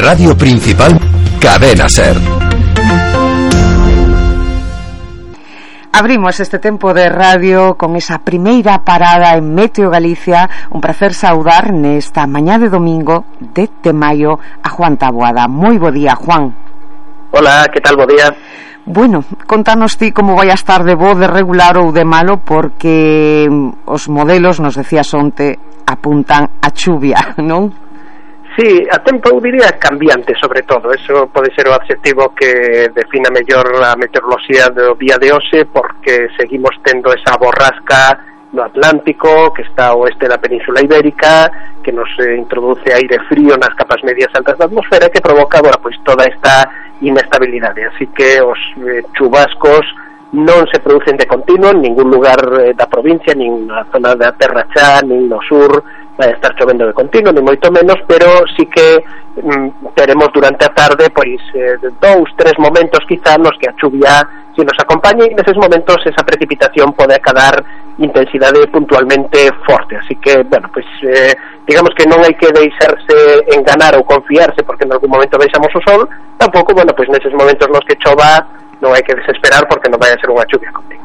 Radio Principal, Cadena Ser. Abrimos este tempo de radio con esa primeira parada en Meteo Galicia. Un prazer saudar nesta mañá de domingo 10 de maio a Juan Taboada. Moi bo día, Juan. Hola, que tal, bo día? Bueno, contanos ti como vai a estar de bo, de regular ou de malo, porque os modelos, nos decías onte, apuntan a chuvia, non? Sí, a tempo, eu diría, cambiante, sobre todo. Eso pode ser o adxetivo que defina mellor a meteoroloxía do día de hoxe, porque seguimos tendo esa borrasca no Atlántico, que está ao oeste da Península Ibérica, que nos introduce aire frío nas capas medias altas da atmosfera, que provoca, bueno, pois toda esta inestabilidade. Así que os chubascos non se producen de continuo en ningún lugar da provincia, nin na zona da Terra Chá, nin no sur vai estar chovendo de continuo, ni moito menos, pero sí que teremos durante a tarde pois 2-3 momentos quizá nos que a chuvia se nos acompañe, e neses momentos esa precipitación pode acadar intensidade puntualmente forte, así que, bueno, pois digamos que non hai que deixarse enganar ou confiarse porque en algún momento veixamos o sol, tampouco, bueno, pois neses momentos nos que chova non hai que desesperar porque non vai a ser unha chuvia continua.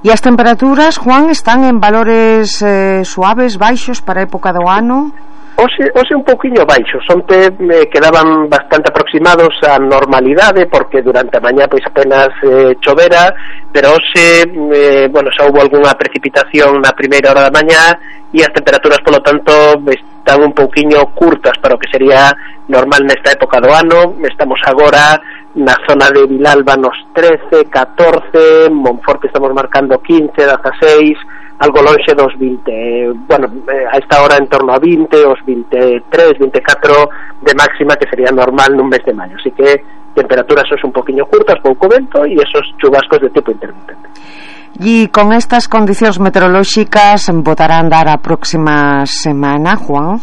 E as temperaturas, Juan, están en valores suaves, baixos para a época do ano? Hoxe un pouquiño baixos, onte quedaban bastante aproximados á normalidade porque durante a mañá pois apenas chovera, pero hoxe, bueno, xa houve algunha precipitación na primeira hora da mañá e as temperaturas, polo tanto, están un pouquiño curtas para o que sería normal nesta época do ano. Estamos agora na zona de Vilalba nos 13, 14, Monforte estamos marcando 15, 16, algo lonxe dos 20, bueno, a esta hora en torno a 20, os 23, 24 de máxima, que sería normal nun mes de maio, así que temperaturas son un poquinho curtas, pouco vento e esos chubascos de tipo intermitente. E con estas condicións meteorolóxicas botarán dar a próxima semana, Juan?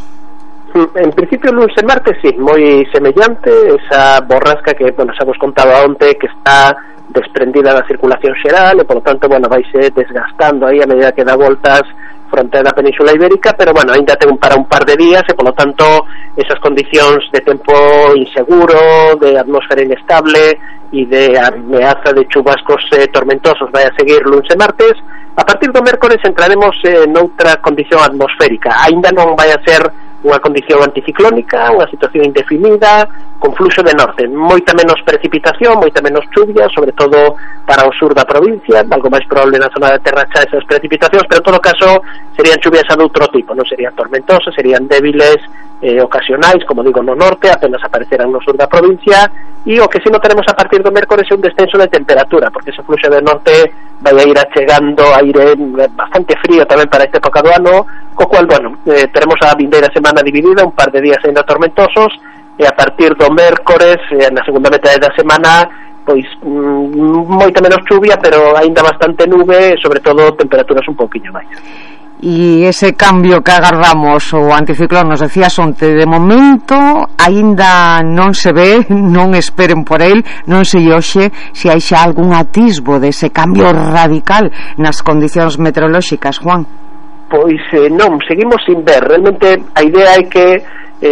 En principio, lunes e martes, sí, moi semellante, esa borrasca que, bueno, xa vos contaba onte, que está desprendida da circulación xeral, e, por lo tanto, bueno, vaise desgastando aí a medida que dá voltas fronte da Península Ibérica, pero, bueno, ainda ten para un par de días, e, por lo tanto, esas condicións de tempo inseguro, de atmosfera inestable, e de ameaza de chubascos tormentosos vai a seguir lunes e martes. A partir do mércores entraremos noutra condición atmosférica, ainda non vai a ser unha condición anticiclónica, unha situación indefinida, con fluxo de norte, moita menos precipitación, moita menos chuvia, sobre todo para o sur da provincia, algo máis probable na zona da Terra Chá esas precipitacións, pero en todo caso serían chuvias a doutro tipo, non serían tormentosas, serían débiles, ocasionais, como digo, no norte, apenas aparecerán no sur da provincia, e o que si non tenemos a partir do mércores é un descenso de temperatura, porque ese fluxo de norte vai a ir achegando aire bastante frío tamén para esta época do ano, co cual, bueno, teremos a vindeira semana dividida, un par de días ainda tormentosos, e a partir do mércores, na segunda metade da semana, pois moita menos chuvia, pero aínda bastante nube, e sobre todo temperaturas un pouquiño máis. E ese cambio que agardamos, o anticiclón, nos decías onte, de momento aínda non se ve, non esperen por el, non sei hoxe se hai xa algún atisbo dese cambio radical nas condicións meteorolóxicas, Juan. Pois non, seguimos sin ver. Realmente a idea é que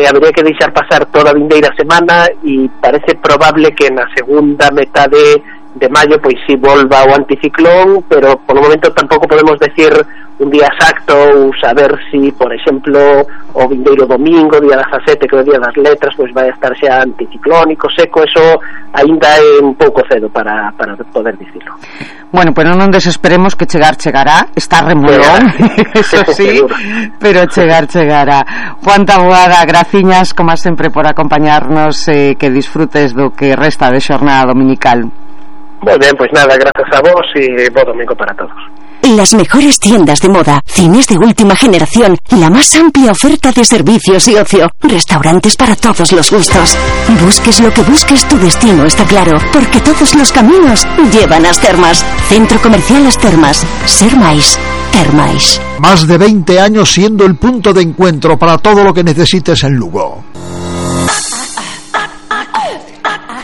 habería que deixar pasar toda a vindeira semana, e parece probable que na segunda metade de maio pois si volva o anticiclón, pero polo momento tampouco podemos decir un día exacto ou saber si, por exemplo, o vindeiro domingo, día 17, que é o día das letras, pois vai estar xa anticiclónico, seco. Eso aínda é un pouco cedo para poder dicirlo. Bueno, pero non desesperemos, que chegará, está remolón, eso sí, pero chegará. Juan Taboada, graciñas, como sempre, por acompañarnos, que disfrutes do que resta de xornada dominical. Muy bien, pues nada, gracias a vos y buen domingo para todos. Las mejores tiendas de moda, cines de última generación, la más amplia oferta de servicios y ocio, restaurantes para todos los gustos. Busques lo que busques, tu destino está claro, porque todos los caminos llevan a As Termas. Centro Comercial As Termas. Ser máis, ter máis. Más de 20 años siendo el punto de encuentro para todo lo que necesites en Lugo.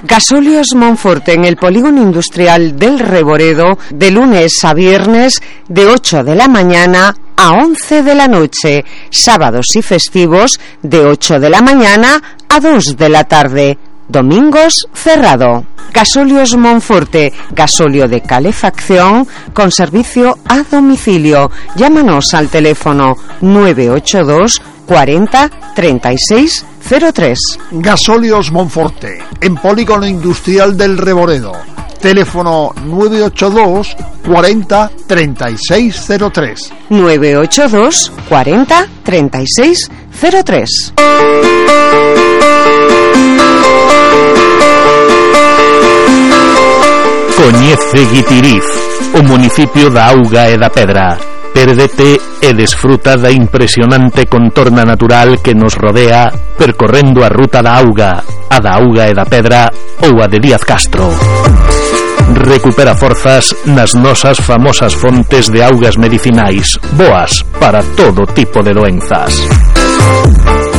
Gasóleos Monforte, en el polígono industrial del Reboredo, de lunes a viernes, de 8 de la mañana a 11 de la noche, sábados y festivos, de 8 de la mañana a 2 de la tarde. Domingos cerrado. Gasóleos Monforte, gasóleo de calefacción con servicio a domicilio. Llámanos al teléfono 982 40 36 03. Gasóleos Monforte, en Polígono Industrial del Reboredo. Teléfono 982 40 36 03. 982 40 36 03. Coñece Guitiriz, o municipio da Auga e da Pedra. Pérdete e desfruta da impresionante contorna natural que nos rodea percorrendo a ruta da Auga, a da Auga e da Pedra ou a de Díaz Castro. Recupera forzas nas nosas famosas fontes de augas medicinais, boas para todo tipo de doenzas.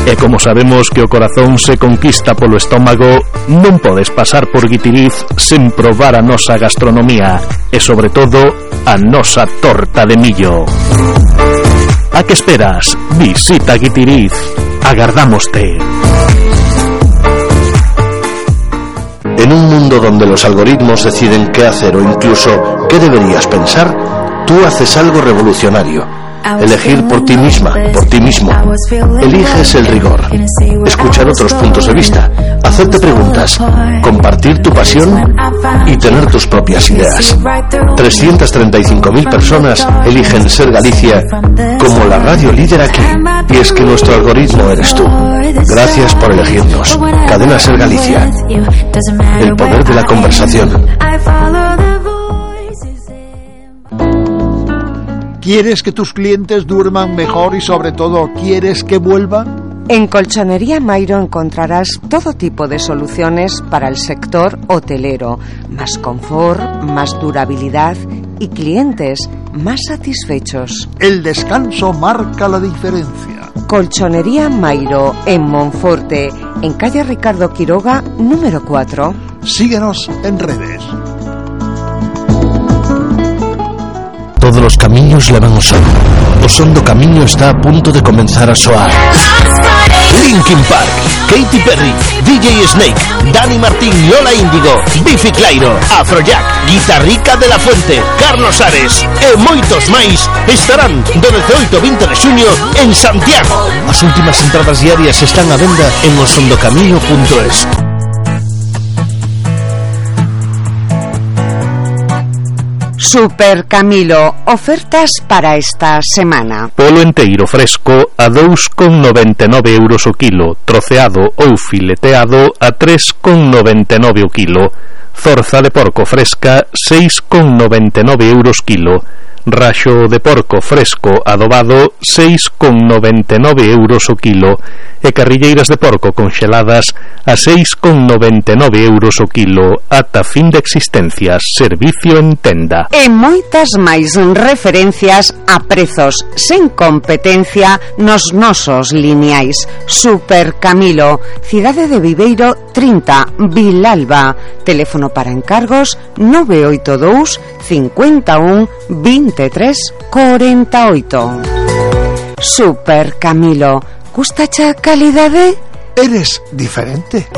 E como sabemos que o corazón se conquista polo estómago, non podes pasar por Guitiriz sen probar a nosa gastronomía e, sobre todo, a nosa torta de millo. A que esperas? Visita Guitiriz. Agardámoste. En un mundo donde los algoritmos deciden qué hacer o incluso qué deberías pensar, tú haces algo revolucionario. Elegir por ti misma, por ti mismo. Eliges el rigor, escuchar otros puntos de vista, hacerte preguntas, compartir tu pasión y tener tus propias ideas. 335.000 personas eligen Ser Galicia como la radio líder aquí. Y es que nuestro algoritmo eres tú. Gracias por elegirnos. Cadena Ser Galicia. El poder de la conversación. ¿Quieres que tus clientes duerman mejor y sobre todo quieres que vuelvan? En Colchonería Mairo encontrarás todo tipo de soluciones para el sector hotelero, más confort, más durabilidad y clientes más satisfechos. El descanso marca la diferencia. Colchonería Mairo en Monforte, en calle Ricardo Quiroga, número 4. Síguenos en redes. Todos los camiños levan o son. O son do camiño está a punto de comenzar a soar. Linkin Park, Katy Perry, DJ Snake, Dani Martín, Lola Índigo, Bifi Clyro, Afrojack, Guitarrica de la Fuente, Carlos Ares e moitos máis estarán do 18 ao 20 de xuño en Santiago. As últimas entradas diarias están á venda en osondocamiño.es. Super Camilo, ofertas para esta semana. Polo enteiro fresco a 2,99 euros o kilo, troceado ou fileteado a 3,99 o kilo, zorza de porco fresca 6,99 euros kilo, raxo de porco fresco adobado 6,99 euros o kilo e carrilleiras de porco conxeladas a 6,99 euros o kilo ata fin de existencias, servicio en tenda. E moitas máis referencias a prezos sen competencia nos nosos lineais. Super Camilo, Cidade de Viveiro 30, Vilalba. Teléfono para encargos 982 51 23 48. Super Camilo, gustacha calidade? Eres diferente.